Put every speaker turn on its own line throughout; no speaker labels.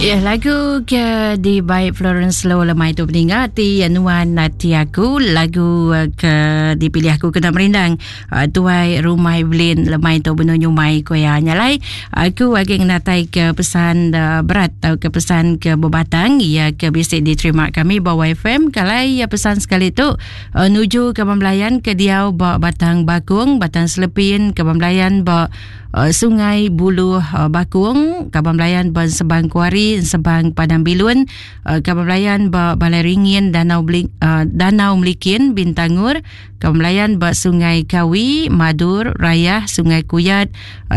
Ya, lagu ke di baik Florence Low lemai tu peninga ti nuan ati aku lagu eh, ke dipilih aku kena merindang eh, tuai rumah Evelyn lemai tu benu nyumai ko ya nyalai aku agi ngenatai ke pesan eh, berat atau ke pesan ke bebatang ia ke bisi diterima kami ba YFM kalai ya pesan sekali tu nuju ke belayan ke diau ba Batang Bakung Batang Selepin ke belayan ba Uh, Sungai Buluh uh, Bakung, Kaban Belayan ba Sebang Kuari, Sebang Padang Bilun, uh, Kaban Belayan ba Balai Ringin, Danau Beli, Danau Melikin, Bintangur, Kaban Belayan ba Sungai Kawi, Madur, Rayah, Sungai Kuyat,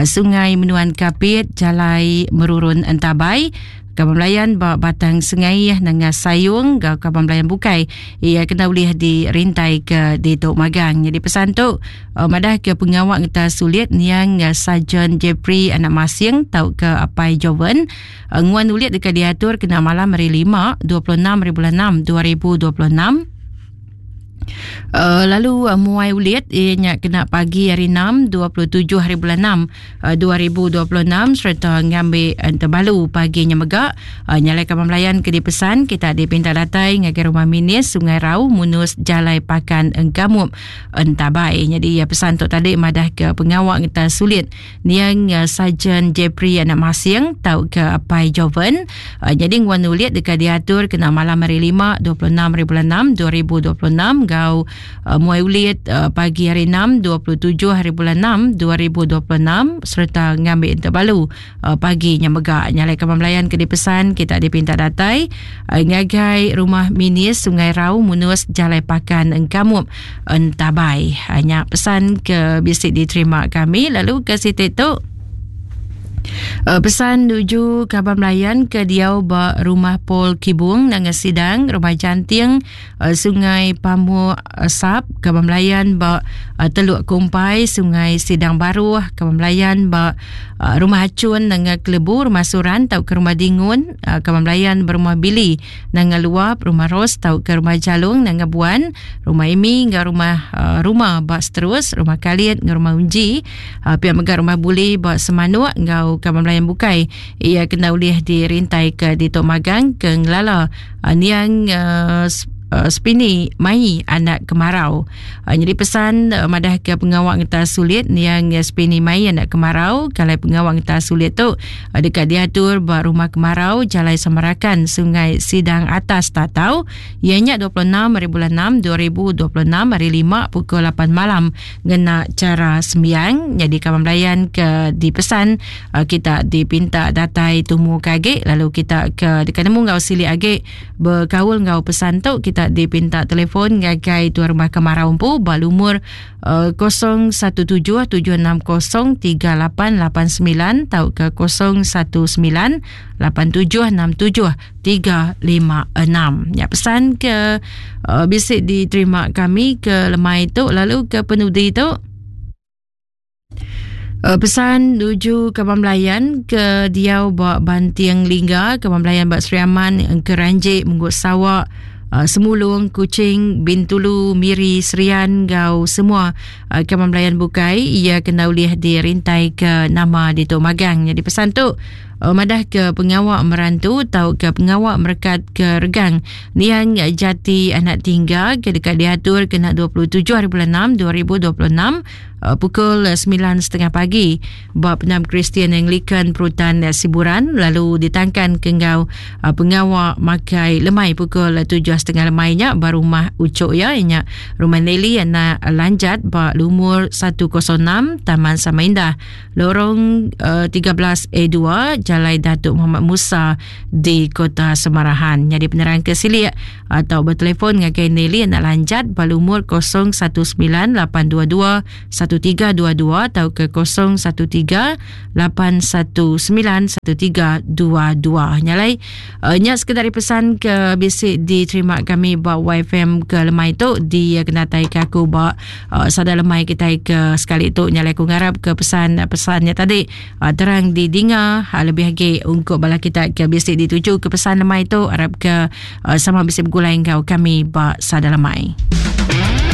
Sungai Menuan Kapit, Jalai Merurun Entabai, Kaban Belayan ba Batang Sengaih Nanga Sayung enggau kaban belayan bukai iya kena ulih dirintai ke ditu magang. Jadi pesan tu uh, madah ke pengawa ngeta sulit niang uh, Sarjan Jeffrey anak Masing tauka Apai Joven uh, nguan ulit deka diatur kena malam hari 5 26 hari bulan 6 2026 Uh, lalu uh, muai ulit ia nya kena pagi hari 6 27 hari bulan 6 uh, 2026 sereta ngambi entebalu pagi nya mega uh, nyalai kaban belayan ke dipesan kita dipinta datai ngagai rumah minis Sungai Rau Munus Jalai Pakan Engkamup Entabai. Jadi ya pesan tu tadi madah ke pengawa ngeta sulit niang uh, Sarjan Jeffrey anak Masing tau ke Apai Joven. Uh, jadi nguan ulit deka diatur kena malam hari 5 26 hari bulan 6 2026 gau uh, muai ulit uh, pagi hari 6 27 hari bulan 6 2026 serta ngambil interbalu uh, pagi nya mega nyalai kaban belayan ke dipesan kita dipinta datai uh, ngagai rumah minis Sungai Rau Munus Jalai Pakan Engkamup Entabai. Nya pesan ke bisi diterima kami lalu ke siti tu pesan nuju kaban belayan ke diau ba rumah Paul Kibung Nanga Sidang Rumah Janting Sungai Pamuk Sap kaban belayan ba Teluk Kumpai Sungai Sidang Baruh kaban belayan ba Rumah Achun Nanga Kelebu Rumah Suran tauka Rumah Dingun kaban belayan ba Rumah Billy Nanga Luap, Rumah Ros tauka Rumah Jalung Nanga Buan, Rumah Imi enggau Rumah uh, Rumah ba Seterus, Rumah Kalit enggau Rumah Unji, uh, pia mega Rumah Buli ba Semanuk enggau kaban belayan bukai. Ia kena ulih dirintai ke ditu magang ke ngelala uh, niang uh, Spini mai anak kemarau. Uh, jadi pesan uh, madah ke pengawa ngeta sulit niang Spini mai anak kemarau kalau pengawa ngeta sulit tu uh, dekat diatur ba rumah kemarau Jalai Samarakan Sungai Sidang Atas Tatau ianya 26 hari bulan 6 2026 hari 5 pukul 8 malam ngena cara sembiang. Jadi kawan belayan ke dipesan uh, kita dipinta datai tumu kage lalu kita ke dekat nemu ngau silik age Bekaul enggau pesan tu kita dipinta telefon ngagai tuan rumah kemarau empu ba lumur uh, 0177603889 tauka 0198767356. Ya pesan ke uh, bisi diterima kami ke lemai tu lalu ke penudi tu Uh, pesan nuju Kaban Belayan ke diau ba Banting Lingga, Kaban Belayan ba Sri Aman, Engkeranjik, Munggut Sawak, uh, Semulung, Kuching, Bintulu, Miri, Serian enggau semua uh, Kaban Belayan bukai ia kena ulih dirintai ke nama ditu magang. Jadi pesan tu uh, madah ke pengawa merantu tau ke pengawa merekat ke regang niang jati anak tingga ke dekat diatur kena 27 hari bulan 6 2026 Uh, pukul 9.30 pagi ba Penam Kristian Anglican Perutan uh, Siburan lalu ditangkan ke enggau uh, pengawa makai lemai pukul 7.30 lemai nya ba rumah Ucok ya nya rumah Nelly anak Lanjat ba lumur 106 Taman Samaindah Lorong 13A2 Jalai Datuk Muhammad Musa di Kota Semarahan. Jadi penerang ke silik atau bertelefon ngagai Nelly anak Lanjat ba lumur 019822 1322 atau ke 013 819 1322. Nyalai uh, nya sekedar pesan ke bisi diterima kami ba YFM ke lemai tu di uh, kenatai ke aku ba uh, sada lemai kita ke sekali tu nyalai aku ngarap ke pesan-pesannya tadi uh, terang didinga uh, lebih lagi untuk bala kita ke bisi dituju ke pesan lemai tu arap ke uh, sama bisi begulai enggau kami ba sada lemai.